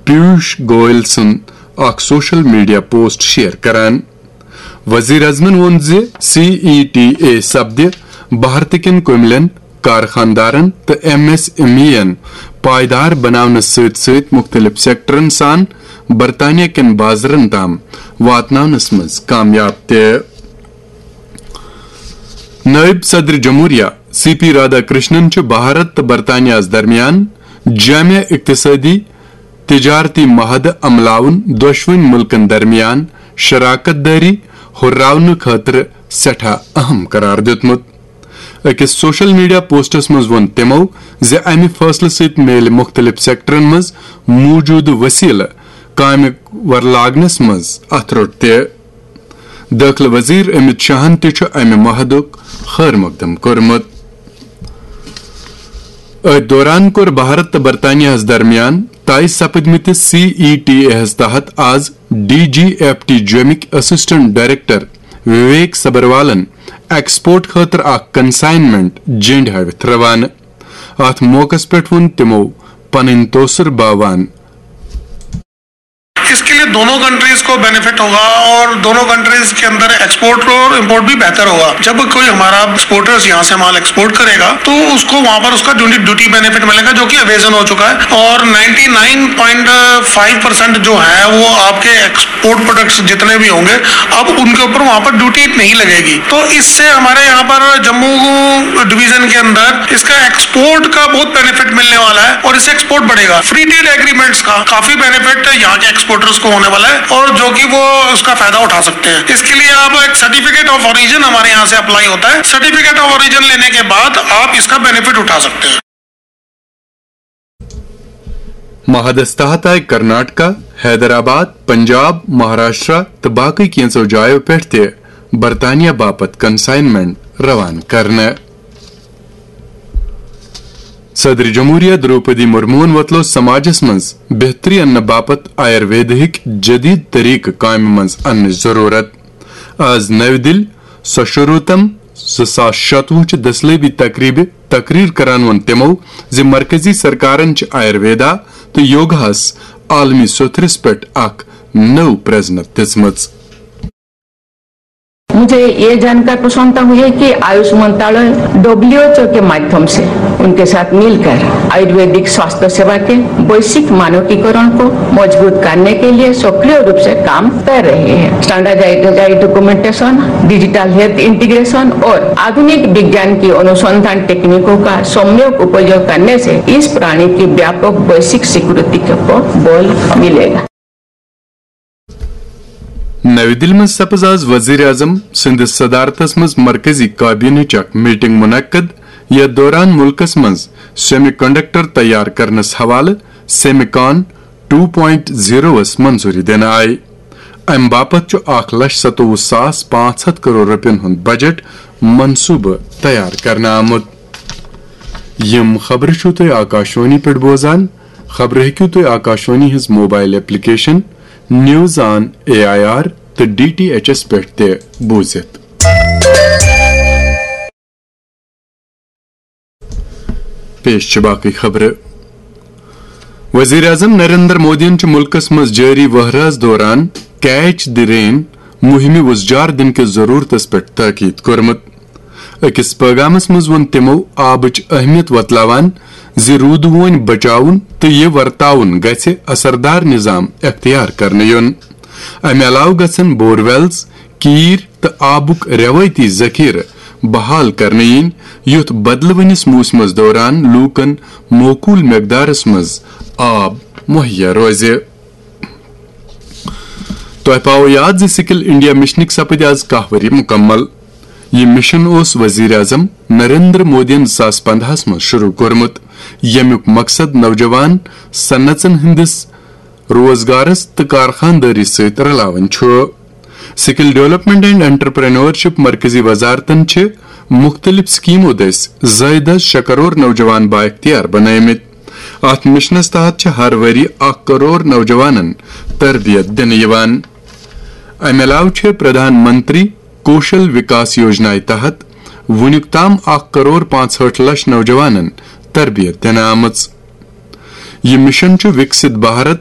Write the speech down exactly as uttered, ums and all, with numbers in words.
پیوش گوئل سُنٛد اکھ social media post share کران۔ وزیر اعظمن ووٚن زِ سی ای ٹی اے سپدِ بھارتہٕ کٮ۪ن کُملٮ۪ن، کارخانہٕ دارن تہٕ ایم ایس ایم ای یَن پائیدار بناونس سۭتۍ سۭتۍ مُختٔلِف سیکٹرن سان برطانیہ کٮ۪ن بازرن تام واتناونس منٛز کامیاب تہِ۔ نائب صدر جمہوریہ سی پی رادھا کرشنن چھُ بھارت تہٕ برطانیہس درمیان جامع اقتصٲدی، تجارتی معاہدٕ عملاوُن دۄشوٕنۍ مُلکن درمیان شراکت دٲری ہُرراونہٕ خٲطرٕ سٮ۪ٹھاہ اہم قرار دیُتمُت۔ أکِس سوشل میڈیا پوسٹس منٛز ووٚن تِمو زِ امہِ فٲصلہٕ سۭتۍ میلہِ مُختٔلِف سیکٹرن منٛز موٗجوٗدٕ وسیلہٕ کامہِ ورلاگنس منٛز اتھٕ روٚٹ تہِ۔ دٲخلہٕ وزیر امت شاہن تہِ چھُ امہِ معاہدُک خیر مقدم کوٚرمُت۔ أتھۍ دوران کوٚر بھارت تہٕ برطانیہس درمیان طے سپدمٕتِس سی ای ٹی اے ہس تحت آز ڈی جی ایف ٹی جومٕکۍ اسسٹنٹ ڈائریکٹر وویک سبروالن ایکسپورٹ خٲطرٕ اکھ کنسائنمنٹ جینڈ ہٲوِتھ روانہٕ۔ اتھ موقعس پٮ۪ٹھ ووٚن تِمو پنٕنۍ توسر باوان۔ इसके लिए दोनों कंट्रीज को बेनिफिट होगा और दोनों कंट्रीज के अंदर एक्सपोर्ट और इंपोर्ट भी बेहतर होगा। जब कोई हमारा एक्सपोर्टर्स यहाँ से माल एक्सपोर्ट करेगा तो उसको वहाँ पर उसका ड्यूटी ड्यूटी बेनिफिट मिलेगा, जो कि अवेजन हो चुका है। और ninety nine point five percent जो है वो आपके एक्सपोर्ट प्रोडक्ट्स जितने भी होंगे, अब उनके ऊपर वहाँ पर ड्यूटी नहीं लगेगी। तो इससे हमारे यहाँ पर जम्मू डिवीजन के अंदर इसका एक्सपोर्ट का बहुत बेनिफिट मिलने वाला है और इससे एक्सपोर्ट बढ़ेगा। फ्री ट्रेड एग्रीमेंट्स का काफी बेनिफिट यहाँ के एक्सपोर्टर्स को होने वाला है और जो कि वो उसका फायदा उठा सकते हैं। इसके लिए आप एक सर्टिफिकेट ऑफ ओरिजिन हमारे यहाँ से अप्लाई होता है। सर्टिफिकेट ऑफ ओरिजिन लेने के बाद आप इसका बेनिफिट उठा सकते हैं। معاہدس تحت آیہِ کرناٹکا، حیدرآباد، پنجاب، مہاراشٹرا تہٕ باقٕے کینٛژو جایو پٮ۪ٹھ تہِ برطانیہ باپتھ کنسائنمنٹ روانہٕ کرنہٕ۔ صدر جمہوریہ دروپدی مرموہن وۄتلٲو سماجس منٛز بہتری اننہٕ باپتھ آیورویدہٕکۍ جدید طریقہٕ کامہِ منٛز اننٕچ ضرورت۔ آز نَوِ دِلہِ سشروتم زٕ ساس شتوُہ چہِ دٔسلٲبی تقریبہِ تقریر کران ووٚن تِمو زِ مرکزی سرکارن چھِ آیورویدا تہٕ یوگاہس عالمی سوٚتھرِس پٮ۪ٹھ اکھ نٔو پرزنت دِژمٕژ۔ मुझे ये जानकर प्रसन्नता हुई है कि आयुष मंत्रालय डब्ल्यूएचओ के माध्यम से उनके साथ मिलकर आयुर्वेदिक स्वास्थ्य सेवा के वैश्विक मानकीकरण को मजबूत करने के लिए सक्रिय रूप से काम कर रहे हैं। Standardise documentation, digital health integration और आधुनिक विज्ञान की अनुसंधान टेक्निकों का सम्यक उपयोग करने से इस प्रणाली की व्यापक वैश्विक स्वीकृति को बल मिलेगा। نَوِ دِلہِ منٛز سپٕز آز وزیر اعظم سٕنٛدِس صدارتس منٛز مرکزی کابینہٕچ اکھ میٹنگ منعقد، یتھ دوران مُلکس منٛز سیمی کنڈکٹر تیار کرنس حوالہٕ سیمی کان ٹو پوینٹ زیروس منظوری دِنہٕ آیہِ۔ امہِ باپتھ چھُ اکھ لچھ ستووُہ ساس پانٛژھ ہتھ کرور رۄپین ہُنٛد بجٹ منصوبہٕ تیار کرنہٕ آمُت۔ یِم خبرٕ چھِو تُہۍ آکاشوانی پٮ۪ٹھ بوزان۔ خبرٕ ہیٚکِو تُہۍ آکاشوانی ہٕنٛز mobile application news on A I R تہٕ ڈی ٹی ایچ ایس پٮ۪ٹھ تہِ بوٗزِتھ۔ پیش چھِ باقٕے خبرٕ۔ وزیر اعظم نریندر مودیَن چھُ مُلکَس منٛز جٲری وَہرٲژ دوران کیچ دی رین مُہِمہِ وُزجار دِنہٕ کِس ضروٗرتَس پٮ۪ٹھ تٲکید کوٚرمُت۔ أکِس پٲغامَس منٛز ووٚن تِمَو آبٕچ اہمیت وۄتلاوان زِ روٗدٕ وونۍ بچاوُن تہٕ یہِ ورتاوُن گژھِ اثردار نظام اختیار کرنہٕ یُن۔ امہِ علاوٕ گژھن بور ویلز، کیٖر تہٕ آبُک رٮ۪وٲیتی ذخیرٕ بحال کرنہٕ یِنۍ، یُتھ بدلوٕنِس موسمس دوران لوٗکن معقول مقدارس منٛز آب مہیا روزِ۔ تۄہہِ پاوو یاد زِ سکل انڈیا مشنٕکۍ سپٕدۍ آز کاہ ؤری مُکمل۔ یہِ مشن اوس وزیر اعظم نریندر مودیَن زٕ ساس پندہَس منٛز شروع کوٚرمُت، ییٚمیُک مقصد نوجوان صنعژن ہٕنٛدِس روزگارس تہٕ کارخانہٕ دٲری سۭتۍ رلاوٕنۍ چھُ۔ سکل ڈیولپمنٹ اینڈ انٹرپرینورشپ مرکزی وزارتن چھِ مُختٔلِف سکیمو دٔسۍ زٲیدٕ شےٚ کرور نوجوان بااختیار بنٲومٕتۍ۔ اتھ مشنس تحت چھِ ہر ؤری اکھ کرور نوجوانن تربیت دِنہٕ یِوان۔ امہِ علاوٕ چھِ پردھان منتری کوشل وکاس یوجنایہِ تحت وُنیُک تام اکھ کرور پانٛژہٲٹھ لچھ نوجوانن تربیت دِنہٕ آمٕژ۔ یہِ مشن چھُ وِکسِت بھارت